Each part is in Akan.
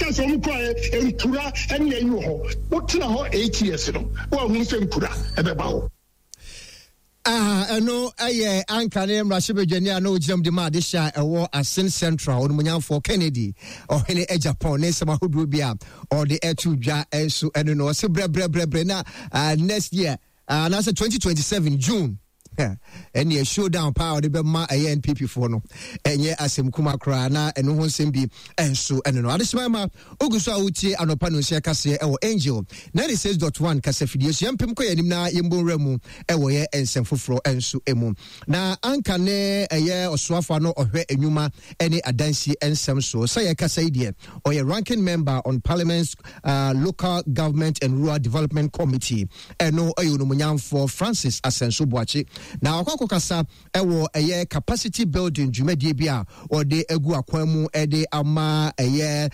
Cars a wɔn kuraeɛ nkura ɛne ayi wɔ hɔ. Wotena hɔ 8 years no, woahunu sɛ nkura ɛbɛba hɔ. Ah, ɛno ɛyɛ anka ne mmarahyɛbadwani a na ɔgyina mu de ma adehyɛ a ɛwɔ Asin Central, Onimonyamfoɔ Kennedy Ɔhene Agyapong ne nsɛm ahodoɔ bi a ɔde ɛto dwa nso ɛno no. Ɔse brɛbrɛbrɛbrɛ na next year anaasɛ 2027 June ɛneɛ showdown paa ɔde bɛma ɛyɛ NPP foɔ no, ɛnyɛ asɛm kuma koraa. Na ɛno ho nsɛm bi ɛnso ɛno no. Adehyema ma ogu so a wotie anɔpa no nsia kaseɛ ɛwɔ Angel 96.1 kasafidie so. Yɛmpem kɔ yɛn anim na yɛmbɔ nwura mu ɛwɔ yɛ nsɛm foforɔ ɛnso mu. Na anka ne ɛyɛ ɔsoafoɔ ano ɔhwɛ enwuma ɛne adansie nsɛm so sɛ yɛkasa yi deɛ, ɔyɛ ranking member on Parliament's Local Government and Rural Development Committee. Ɛno ɛyɛ Onumonyamfoɔ Francis Asɛnso Boakye na ɔkɔ akɔkasa ɛwɔ ɛyɛ capacity building dwumadie bi a ɔde agu akwan mu ɛde ama ɛyɛ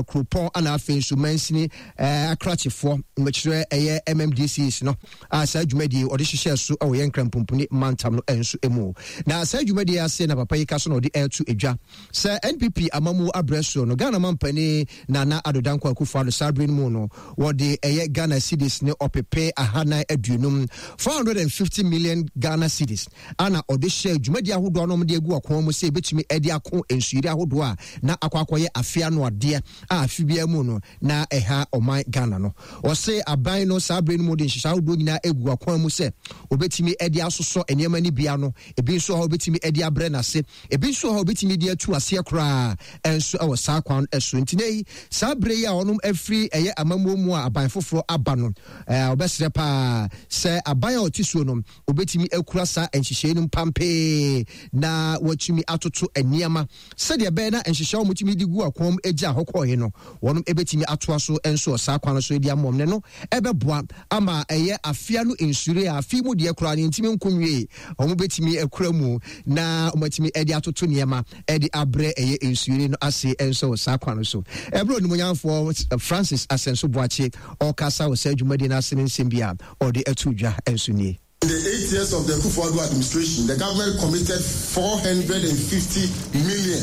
kuropɔn ana afei nso mansini akrakyefoɔ, mmɛkyerɛ ɛyɛ MMDCs no a saa dwumadie ɔde hyehyɛ so ɛwɔ yɛn Nkrampomponi mantam no nso mu. Na saa dwumadie ase na papa yi ka so na ɔde ɛreto edwa sɛ NPP amamu abrɛ soɔ no, Ghana mampanin Nana Addo Dankwa Akufo-Addo saa bere no mu no, wɔde ɛyɛ Ghana cedis ne 450, 450 million Ghana cedis, ana ɔde hyɛ dwumadie ahodoɔ a na wɔde agu akɔn mu sɛ ebetumi de ako nsuyiri ahodoɔ a na akɔ akɔyɛ afe ano adeɛ a afe biara mu no na ɛha ɔman Ghana no. Ɔse aban no saa bere no mu de nhyehyɛ ahodoɔ nyinaa agu akwan mu sɛ obetumi de asosɔ nneɛma no bi ano, ebi nso a obetumi de abrɛ n'ase, ebi nso a obetumi de atu aseɛ koraa nso wɔ saa kwan so. Nti ne saa bere yi a ɔnom afiri ɛyɛ amammuo mu a aban foforɔ aba no, ɔbɛsrɛ paa sɛ aban a ɔte suo no obetumi akura saa nhyehyɛe no mpampee na watumi atoto nneɛma sɛdeɛ ɛbɛyɛ na nhyehyɛ a wɔtumi de gu akɔn mu gya hɔ kɔɔe no, wɔn bɛtumi atoa so nso wɔ saa kwan no so de ama wɔn ne no ɛbɛboa ama ɛyɛ afea no nsure a afe mu deɛ koraa no ntumi nko nwie, wɔn bɛtumi akura mu na wɔatumi de atoto nneɛma de abrɛ ɛyɛ nsure no ase nso wɔ saa kwan no so. Ɛberɛ Onimonyamfoɔ Francis Asɛnso Boakye ɔkasa wɔ saa dwumadie no ase ne nsɛm bi a ɔde ato dwa nso nie. In the 8 years of the Akufo-Addo administration, the government committed 450 million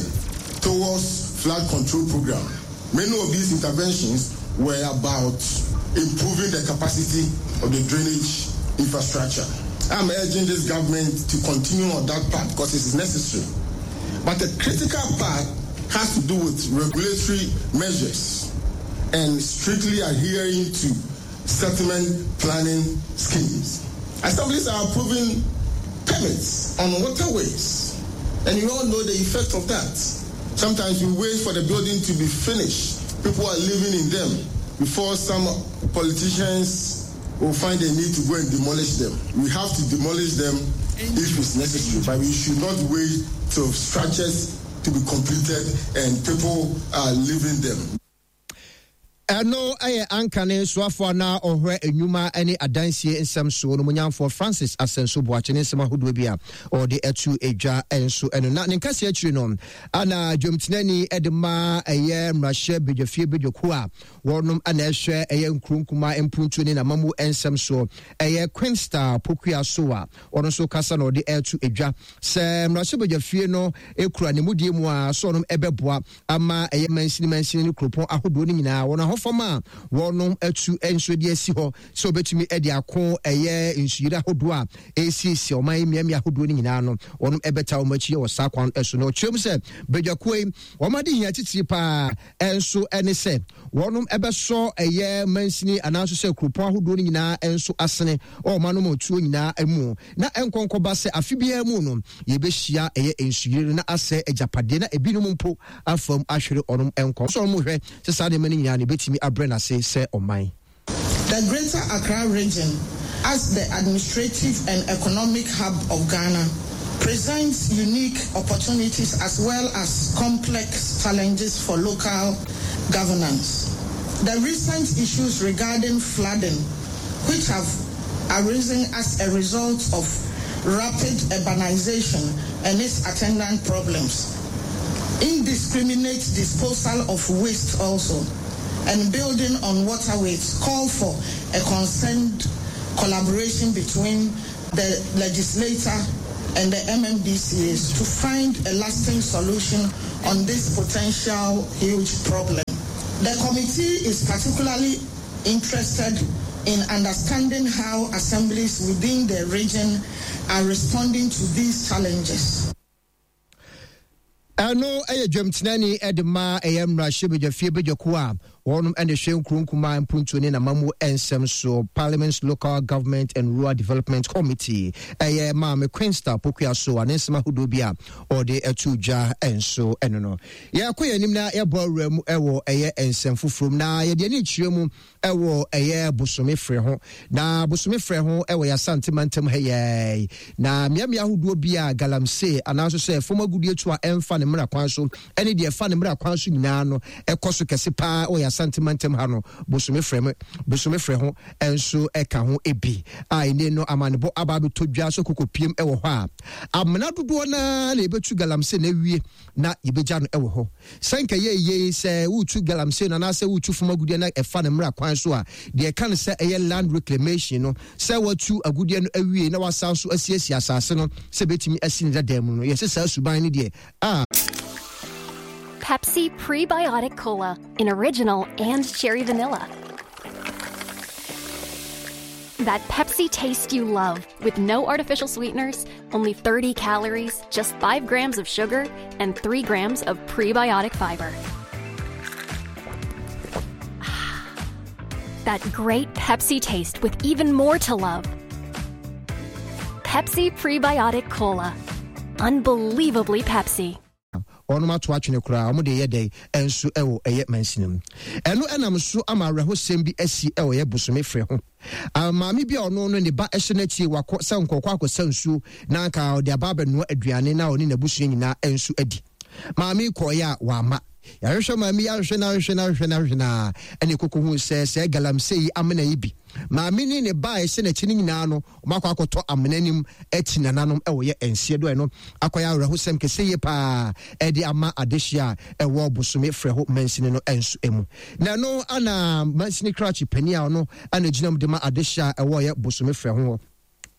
towards flood control program. Many of these interventions were about improving the capacity of the drainage infrastructure. I'm urging this government to continue on that path because it is necessary. But the critical part has to do with regulatory measures and strictly adhering to settlement planning schemes. Assemblies are approving permits on waterways, and you all know the effect of that. Sometimes we wait for the building to be finished. People are living in them before some politicians will find the need to go and demolish them. We have to demolish them if it's necessary, but we should not wait till structures to be completed and people are living them. Ɛno yɛ anka ne soafoɔ na ɔhwɛ nnwuma ne adansie nsɛm soɔ no munyamfoɔ Francis Asɛnso Boakye ne nsɛm ahodoɔ bi a ɔde atu edwa nso ɛno. Na ne nkasi akyiri no ana dwamtenani de ma ɛyɛ mmarahyɛ badwafie badwakuo a wɔnom ana ɛhwɛ ɛyɛ nkuro nkuma mpuntuo ne n'amamu nsɛm soɔ, ɛyɛ Queenstar Pokua so a ɔno nso kasa na ɔde ɛto edwa sɛ mmarahyɛ badwafie no ekura ne mudie mu a so ɔnom ɛbɛboa ama ɛyɛ mansini mansini ne kuropɔn ahodoɔ no nyinaa wɔn ahofam a wɔnom atu nso de asi hɔ sɛ wɔbɛtumi de ako ɛyɛ nsuyiri ahodoɔ a ɛresiesie ɔman yi mmeammea ahodoɔ no nyinaa no, wɔnom ɛbɛta wɔn akyi wɔ saa kwan so. Na ɔkyerɛ mu sɛ badwakuo yi wɔn ade hia titiri paa nso ne sɛ wɔnom ɛbɛsɔ ɛyɛ mansini anaasɛ sɛ kuropɔn ahodoɔ no nyinaa nso asene ɔma no ma tuo nyinaa mu na ɛnkɔnkɔba sɛ afe biara mu no yɛbɛhyia ɛyɛ nsuyiri no na asɛ agyapadeɛ na ebinom mpo afam ahwere ɔnom nkɔ so. Ɔnom hwɛ sɛ saa nneɛma no nyinaa no ebɛtumi abrɛ n'ase sɛ ɔman. The Greater Accra Region, as the administrative and economic hub of Ghana, presents unique opportunities as well as complex challenges for local governance. The recent issues regarding flooding, which have arisen as a result of rapid urbanization and its attendant problems, indiscriminate disposal of waste also, and building on waterways, call for a concerned collaboration between the legislator and the MMDCAs to find a lasting solution on this potential huge problem. The committee is particularly interested in understanding how assemblies within the region are responding to these challenges. Ɛno yɛ dwamtenani de ma ɛyɛ mmarahyɛbadwafie badwakuo a wɔnom na ɛhwɛ nkuro nkumaa mpuntuo ne n'amammuo nsɛm so, Parliament's Local Government and Rural Development Committee, ɛyɛ Maame Queensta Pokuaso a ne nsɛm ahodoɔ bi a ɔde ato dwa nso ɛno no. Yɛkɔ yɛn anim na yɛbɔ awura mu wɔ ɛyɛ nsɛm foforɔ mu na yɛde ani kyerɛ mu ɛwɔ ɛyɛ bosome frɛ ho na bosome frɛ ho ɛwɔ yasante mantam ha yɛi na mmeammea ahodoɔ bi a galamsey anaaso sɛ fam agudeɛ tu a ɛmfa ne mmara kwan so ɛne deɛ ɛfa ne mmara kwan so nyinaa no ɛkɔ so kɛse paa ɛwɔ yasante mantam ha no bosome frɛ mo bosome frɛ ho ɛnso ɛka ho ebi a ɛne no amanebɔ aba abɛtɔ dwa so koko piem ɛwɔ hɔ a amena dodoɔ naa na ɛbɛtu galamsey na awie na yɛbɛgya no ɛwɔ hɔ. Sɛ nka ɛyɛ yie sɛ woretu galamsey no anaasɛ woretu fam agudeɛ na ɛfa no mmara kwan so a, deɛ ɛka no sɛ ɛyɛ land reclamation no, sɛ woatu agudeɛ no awie na wasan so asiesie asase no sɛ ɛbɛtumi asi ne dada mu no, yɛsɛ saa suban no deɛ a. Pepsi Prebiotic Cola in original and cherry vanilla. That Pepsi taste you love with no artificial sweeteners, only 30 calories, just 5 grams of sugar, and 3 grams of prebiotic fiber. That great Pepsi taste with even more to love. Pepsi Prebiotic Cola. Unbelievably Pepsi. Wɔnom ato atwene koraa, wɔn de yɛ dɛn nso wɔ ɛyɛ mansini mu. Ɛno ɛnam so ama awerɛhosɛm bi asi wɔ ɛyɛ bosome frɛ ho. Maame bi a ɔno no ne ba hyɛ n'akyi wakɔ sɛ nkɔkɔ akɔsa nsuo na anka ɔde aba abɛnoa aduane na ɔne n'abusua nyinaa nso adi. Maame yi kɔeɛ a wamma. Yɛahwehwɛ maame yi ahwehwɛ no ahwehwɛ no ahwehwɛ no ahwehwɛ no a ɛna ɛkɔkɔ hu sɛ sɛ galamsey yi amena yi bi. Maame ne ne ba a ɛhyɛ n'akyi no nyinaa no wɔakɔ akɔtɔ amena nim akyi nananom wɔ yɛ nseɛ do ɛno akɔyɛ awerɛhosɛm kɛse yie paa ɛde ama adehyeɛ a ɛwɔ bosome frɛho mansini no nso mu. Na ɛno ana mansini krakye panin a ɔno ana gyina mu de ma adehyeɛ a ɛwɔ yɛ bosome frɛho hɔ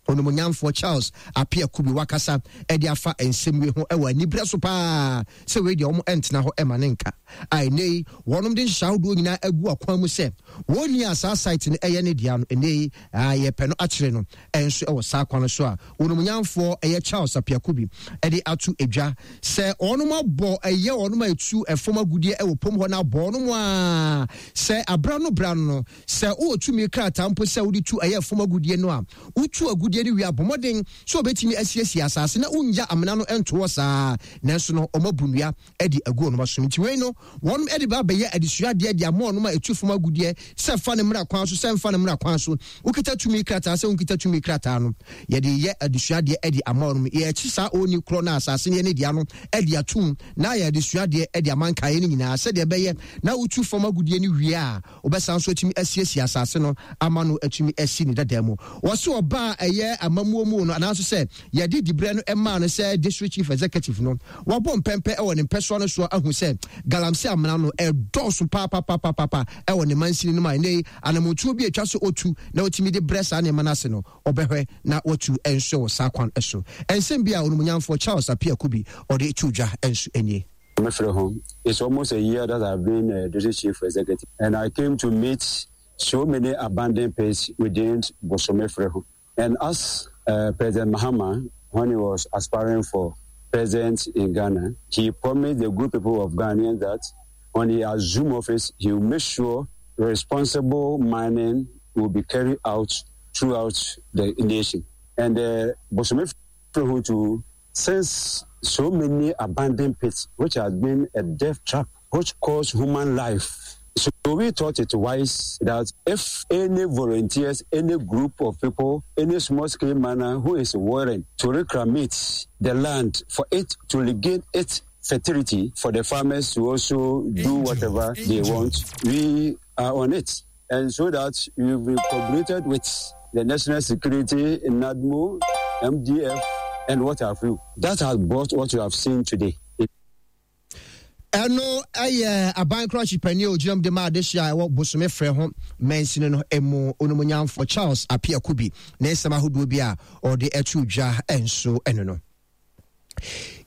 Onimuonyamfoɔ Charles Appiah Kubi wakasa de afa nsɛm wei ho wɔ aniberɛ so paa sɛ wei deɛ wɔn ntena hɔ ma ne nka a ɛnɛ yi wɔnom de nhyehyɛ ahodoɔ nyinaa agu akwan mu sɛ wɔn ni a saa site no ɛyɛ ne dea no ɛnɛ yi yɛpɛ no akyerɛ no nso wɔ saa kwan no so a Onimuonyamfoɔ ɛyɛ Charles Appiah Kubi de ato edwa sɛ wɔnom abɔ ɛyɛ wɔnom a ɛtu ɛfam agudeɛ ɛwɔ pom hɔ no abɔ wɔnom a sɛ abra no bra no Sɛ wowɔ tumi krataa mpo sɛ wode tu ɛyɛ fam agudeɛ no a, wotu agudeɛ no wie a, bɔ mmɔden sɛ wɔbɛtumi asiesie asase na wonnya amena no nto hɔ saa. Nanso no, wɔabu nnua de agu wɔn asom. Nti wei no, wɔn de ba abɛyɛ adesuadeɛ de ama wɔn a ɛtu fam agudeɛ sɛ fa no mmra kwan so, sɛ mfa no mmra kwan so. Wokita tumi krataa sɛ wonkita tumi krataa no, yɛde yɛ adesuadeɛ de ama wɔn. Yɛrekye saa onii korɔ no a asase no yɛ ne dea no de atom na ayɛ adesuadeɛ de ama nkaeɛ no nyinaa sɛdeɛ ɛbɛyɛ na wotu fam agudeɛ no wie a, Wɔbɛsan nso atumi asiesie asase no ama no atumi asi ne dada mu. Wɔse ɔbaa a ɛyɛ amammuo mu no anaa nso sɛ yɛde diberɛ no maa no sɛ District Chief Executive no, wabɔ mpɛmpɛ wɔ ne mpɛsoa no soɔ ahu sɛ galamsey amena no ɛdɔɔso paapapapapa wɔ ne mansini no mu a ɛnnɛ yi anamontuo bi a ɛtwa sɛ ɔtu na ɔtumi de brɛ saa nneɛma no ase no ɔbɛhwɛ na watu nso wɔ saa kwan so. Nsɛm bi a Onumunyamfoɔ Charles Appiah Kubi ɔde too dwa nso nie. It's almost a year that I've been a district chief executive, and I came to meet so many abandoned pits within Bosome And as uh, President Mahama, when he was aspiring for president in Ghana, he promised the good people of Ghana that when he assumed office, he will make sure responsible mining will be carried out throughout the nation. And uh, Bosome too, since so many abandoned pits, which has been a death trap, which caused human life. So we thought it wise that if any volunteers, any group of people, any small scale miner who is willing to reclamate the land for it to regain its fertility for the farmers to also do whatever they want, we are on it. And so that we will be cooperated with the National Security, NADMO, MDF, and what have you. That has brought what you have seen today. Ɛno yɛ aban krakye panin a ogyina mu de ma adehye a ɛwɔ Bosome frɛ ho mansini no mu onumonyamfo Charles Appiah Kubi ne nsɛm ahodoɔ bi a ɔde ato dwa nso ɛno no.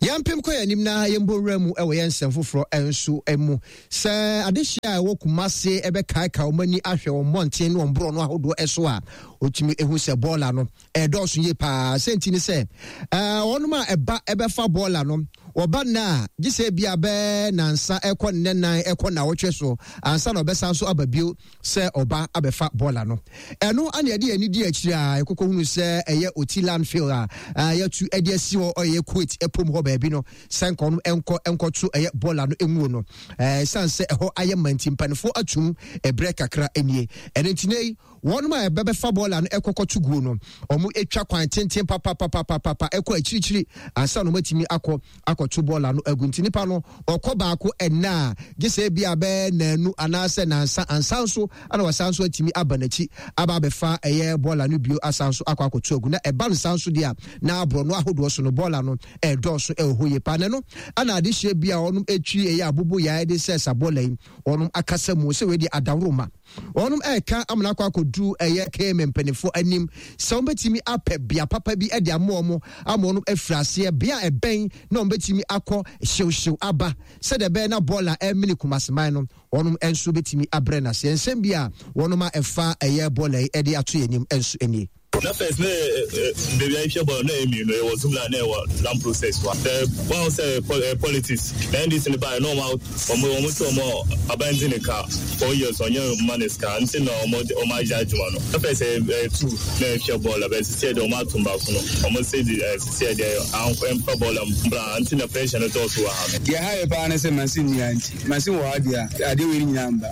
Yɛmpem kɔ yɛn anim na yɛmbɔ nwura mu wɔ yɛn nsɛm foforɔ nso mu. Sɛ adehyeɛ a ɛwɔ Kumase bɛkaekae wɔn ani ahwɛ wɔn mmɔnten ne wɔn borɔno ahodoɔ so a, wɔtumi hu sɛ bɔɔla no ɛredɔɔso yie paa. Sɛ nti ne sɛ wɔnom a ɛba ɛbɛfa bɔɔla no, wɔba nna a, gye sɛ ebi a bɛɛ nansa ɛkɔ nnɛ nan ɛkɔ nnawɔtwe so ansa na ɔbɛsan so aba bio. sɛ ɔba abɛfa bɔɔla no. Ɛno ana yɛde yɛn ani di akyiri a yɛkɔkɔ hunu sɛ ɛyɛ Oti landfill a yɛatu de asi hɔ ɛyɛ Kuwait ɛpom hɔ baabi no sɛ nka ɔno ɛnkɔ ɛnkɔto ɛyɛ bɔɔla no nwuo no. Ɛsiane sɛ ɛhɔ ayɛ ma nti mpanimfoɔ atum ɛberɛ kakra nie. Ɛno nti nei wɔnom a ɛbɛbɛfa bɔɔla no ɛkɔkɔto guo no wɔn atwa kwan tenten papapapapapa ɛkɔ akyirikyiri ansa na wɔn atumi akɔ akɔto bɔɔla no agu. Nti nipa no ɔkɔ baako ɛnnɛ a, gye sɛ ebia bɛyɛ nnanu anaasɛ nnansa ansa nso na wasan nso atumi aba n'akyi aba abɛfa ɛyɛ bɔɔla no bio asan nso akɔ akɔto agu. Na ɛba no saa nso deɛ a, na borɔno ahodoɔ so no bɔɔla no ɛredɔɔso ɛwɔ hɔ yie paa. Na ɛno ana adehyeɛ bi a wɔnom ɛtwi ɛyɛ abobo yae de sɛ sa bɔɔla yi wɔnom akasa mu sɛ wei deɛ adaworoma. Wɔnom ɛreka amena akɔ akɔduru ɛyɛ KMA mpanimfoɔ anim sɛ wɔn bɛtumi apɛ bea papa bi de ama wɔn ama wɔn afiri aseɛ bea a ɛbɛn na wɔn bɛtumi akɔ hyewhyew aba sɛdeɛ ɛbɛyɛ na bɔɔl a ɛremene Kumaseman no wɔnom nso bɛtumi abrɛ no aseɛ. Nsɛm bi a wɔnom a ɛfa ɛyɛ bɔɔl yi de ato yɛn anim nso nie. Na first na baabi a yɛhwɛ bɔɔl na ɛyɛ mmienu, ɛwɔ Zoomlion na ɛwɔ Land Process wa. Sɛ wɔn sɛ politics na NDC no baeɛ na wɔn wɔn wɔn sɛ wɔn aban di ne ka 4 years ɔnyɛ mma ne sika nti na wɔn wɔn agye adwuma no. Na first ɛyɛ two na ɛhwɛ bɔɔl abɛn sisi ɛdeɛ wɔn atum baako no wɔn sɛ di sisi ɛdeɛ ankɔ ɛmfa bɔɔl mbra nti na pressure no dɔɔso wɔ ha no. Deɛ ɛha yɛ paa ne sɛ machine nni ha nti machine wɔ ha deɛ a adeɛ wei nyinaa mba.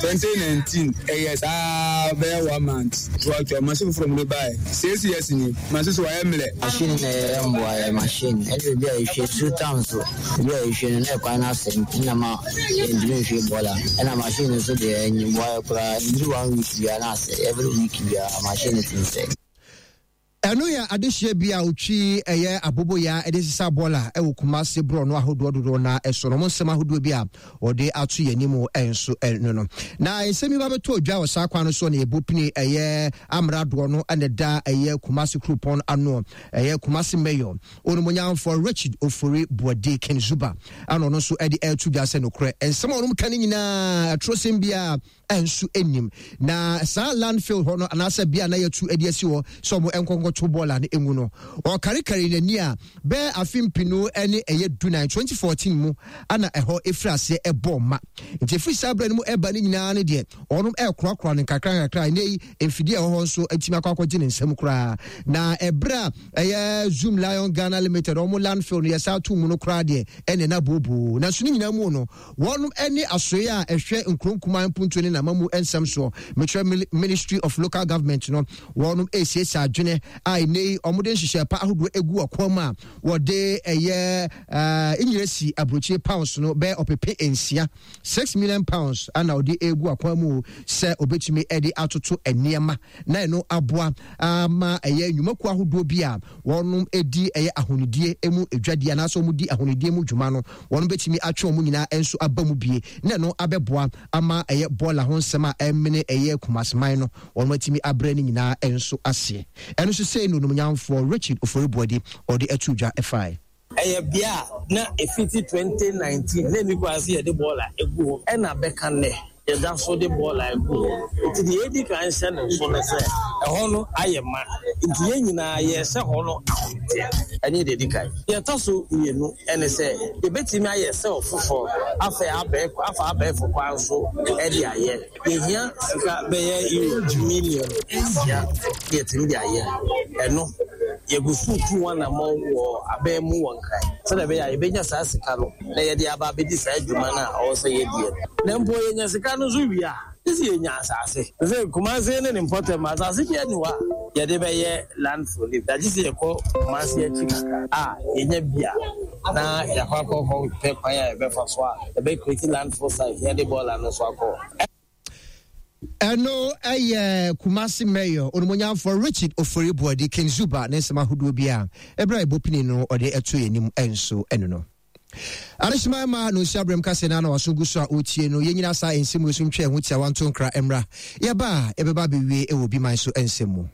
2019 ɛyɛ saa bɛyɛ one month toatoa machine foforɔ mu de baeɛ 6 years ni machine so wayɛ mmerɛ. Machine na ɛyɛ mboa yɛ machine ɛne baabi a yɛhwie nsuo tam so baabi a yɛhwie no na ɛkwan no asɛe nti na ma yɛntumi nhwie bɔɔla ɛna machine no nso deɛ ɛnyɛ mboa yɛ koraa ɛnduru one week biara na asɛe every week biara machine no tumi sɛe. Ɛno yɛ adehyeɛ bi a ɔtwi ɛyɛ aboboyaa de sesa bɔɔla wɔ Kumasi borɔno ahodoɔ dodoɔ no ara so no. Wɔn nsɛm ahodoɔ bi a wɔde ato yɛn anim nso no no. Na nsɛm yi ba bɛtɔ dwa wɔ saa kwan no so na yɛbɔ pini ɛyɛ amradoɔ no na ɛda ɛyɛ Kumasi kuropɔn ano ɛyɛ Kumasi Mayor Onimonyamfoɔ Richard Ofori Boadi Ken Zuba ana ɔno nso de ɛreto dwa sɛ nokorɛ nsɛm a wɔn ka no nyinaa atorosɛm biara nso nnim. Na saa landfill hɔ no anaasɛ bea na yɛatu de asi hɔ sɛ wɔn nkɔnkɔto bɔɔla no ngu no, ɔkarekare n'ani a bɛyɛ afe mpenu ne ɛyɛ dunan 2014 mu ana ɛhɔ ɛfiri aseɛ ɛbɔɔ ma. Nti ɛfiri saa berɛ no mu ɛba no nyinaa no deɛ wɔnom ɛrekorakora no nkakra nkakra. Ɛnɛ yi mfidie a ɛwɔ hɔ nso atumi akɔ akɔgye ne nsam koraa. Na ɛberɛ a ɛyɛ Zoom Lion Ghana Limited wɔn landfill no yɛsa to mu no koraa deɛ ɛne na booboo. Nanso ne nyinaa mu no Wɔnom ne asoeɛ a ɛhwɛ nkuro nkumaa mpuntuo ne n'amammu nsɛm soɔ, mekyerɛ Ministry of Local Government no, wɔnom resiesie adwene a ɛnnɛ yi wɔde nhyehyɛɛ pa ahodoɔ agu ɔkwan mu a wɔde ɛyɛ nyeresi aburokyire pounds no bɛyɛ ɔpepe nsia, £6 million, ana wɔde regu akwan mu sɛ wɔbɛtumi de atoto nneɛma na ɛno aboa ama ɛyɛ nnwumakuo ahodoɔ bi a wɔnom di ɛyɛ ahonidie mu dwadie anaasɛ wɔn di ahonidie mu dwuma no, wɔn bɛtumi atwe wɔn nyinaa nso aba mu bie na ɛno abɛboa ama ɛyɛ bɔɔla ho nsɛm a ɛmene ɛyɛ Kumaseman no wɔn atumi abrɛ ne nyinaa nso aseɛ. Ɛno nso sei na onimnyamfoɔ Richard Ofori Boadi ɔde ato dwa ɛfae. Ɛyɛ bea a na ɛfiti 2019 na ɛnni kwan sɛ yɛde bɔɔla gu hɔ ɛna bɛka nnɛ yɛda so de bɔɔla gu hɔ. Nti deɛ yɛdi kan hyɛ no nso ne sɛ ɛhɔ no ayɛ ma nti yɛn nyinaa yɛrehyɛ hɔ no ahometeɛ. Ɛne deɛ ɛdi kan. Deɛ ɛtɔ so mmienu ne sɛ yɛbɛtumi ayɛ sɛl foforɔ afa afa abɛɛfo kwan so de ayɛ. Yɛhia sika bɛyɛ euro million 6 na yɛatumi de ayɛ ɛno. Yɛgu so retu ho anammɔn wɔ aban mu wɔ Nkran sɛdeɛ ɛbɛyɛ a yɛbɛnya saa sika no na yɛde aba abɛdi saa dwuma no a ɛwɔ sɛ yɛdie no. Na mpo yɛnya sika no nso wie a, gye sɛ yɛnya asase. Te sɛ Kumasi ne ne mpɔtam, asase biara nni hɔ a yɛde bɛyɛ landfill no bi. Gye sɛ yɛkɔ Kumasi akyi kakra a yɛnya bi a, na yɛakɔ akɔpɛ kwan a yɛbɛfa so a yɛbɛ create landfill site na yɛde bɔɔla no nso akɔ hɔ. Ɛno yɛ Kumasi Mayor Onimonyamfoɔ Richard Ofori Boadi King Zuba ne nsɛm ahodoɔ bi a ɛberɛ a ɛbɔ pini no ɔde ɛto yɛn anim nso ɛno no. Adehyema ma no nsi abrɛm kase na na waso gu so a ɔretie no. Yɛnyina saa nsɛm wei so ntwa ɛho tiawa nto nkra mmra. Yɛba a yɛbɛba abɛwie wɔ obi man so nsɛm mu.